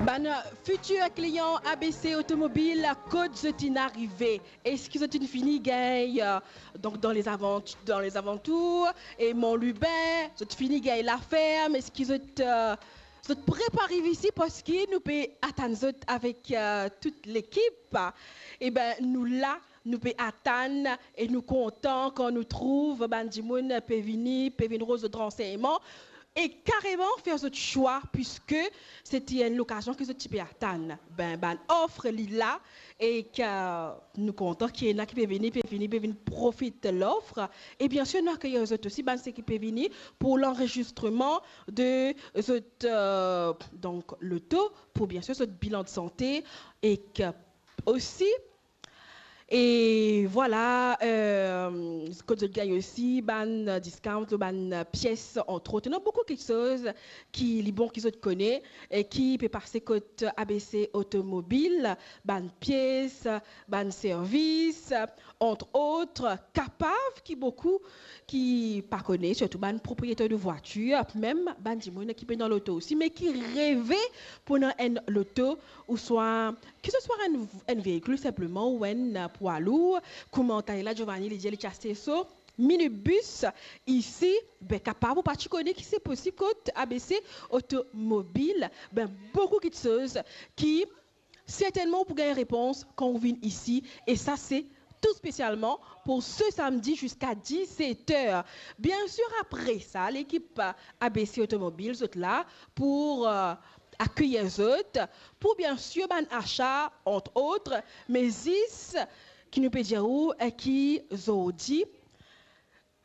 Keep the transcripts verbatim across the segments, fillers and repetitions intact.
Bann fitir klian A B C Otomobil, kot zot inn arive? Eski zot inn fini gagn, euh, donk dan lezavant-, dan lezalantour, e Mont Lubin, zot fini gagn Laferm? Eski zot, euh, zot pre pou ariv isi? Parski nou pe atann zot avek, euh, tout lekip. Eben, nou la, nou pe atann e nou kontan kan nou trouv bann dimoun pe vini, pe vinn rod zot ransegnman e kareman fer zot swa, piske se ti enn lokazion ki zot ti pe atann. Be, bann lof li la e ki nou kontan ki ena ki pe vini, pe vini, pe vinn profit lof. E biensir, nou akeyir zot osi, bann seki pe vini pou lanrezistreman de zot, euh, donk, loto, pou biensir zot bilan de sante, e ki osi E vwala, euh, kot zot gagn osi bann discount lor bann pies, antrot. Ena boukou kiksoz ki li bon ki zot kone, e ki pe pase kot A B C Otomobil, bann pies, bann servis, antrot, kapav ki boukou ki pa kone, sirtou bann propriyeter de vwatir, mem bann dimoun ki pena loto osi, me ki reve pou ena enn loto, ouswa ki se swa enn, enn veikil sinpleman ou enn, euh, pwa lour, kouma talila Giovanni li dir li ti aste so minibis isi, be, kapav ou pa ti kone ki se posib kot A B C Otomobil, be, boukou kiksoz ki sertennman ou pou gagn repons kan ou vinn isi, e sa se tou spesialman pou se samdi ziska diset er. Biensir, apre sa, lekip A B C Otomobil, zot la pou, euh, akeyir zot, pou biensir bann asa, antrot, me zis ki nou pe dir ou, eh, ki zordi,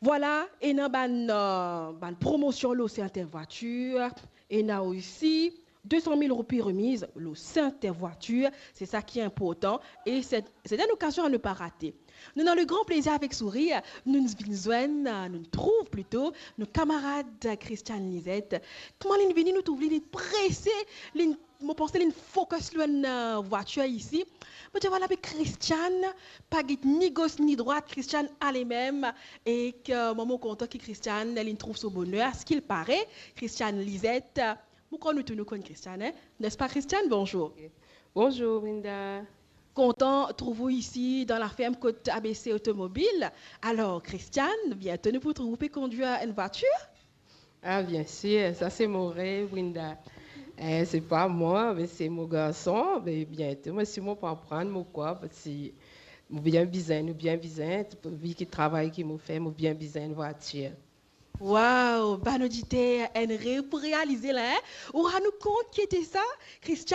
vwala, ena bann, euh, bann promosion lor sertin vwatir, ena osi de san mil roupi remiz lor sertin vwatir, se sa ki inportan, e se, se enn okazion a ne pa rate. Nou ena le gran plezir avek sourir, nou vinn zwenn, nou trouv plito, nou kamarad Christiane Lisette. Kouma linn vini, nou trouv li, li prese, linn, mo panse linn fokis lor enn, euh, vwatir isi. Mo dir, vwala, be Christiane pa get ni gos ni drwat, Christiane ale mem, e ki, euh, mwa mo kontan ki Christiane, linn trouv so boner, a ce qu'il paraît, Christiane Lisette, mo krwar nou tou nou konn Christiane, hein? N'est-ce pas, Christiane? Bonzour. Bonzour, Brinda. Kontan trouv ou isi dan laferm kot A B C Otomobil. Alor, Christiane, biento nou pou trouv ou pe kondwir enn vwatir? Ah, biensir, sa se mo rev, Brinda. Eh, se pa mwa, me se mo garson. Me biento, mo si mo pou aprann, mo krwar, parski mo bien bizin, nou bien bizin, vi ki travay ki mo fer, mo bien bizin enn vwatir. Wow, bann oditer, enn rev pou realize la, hein? Ou rann ou kont ki ete sa, Christiane?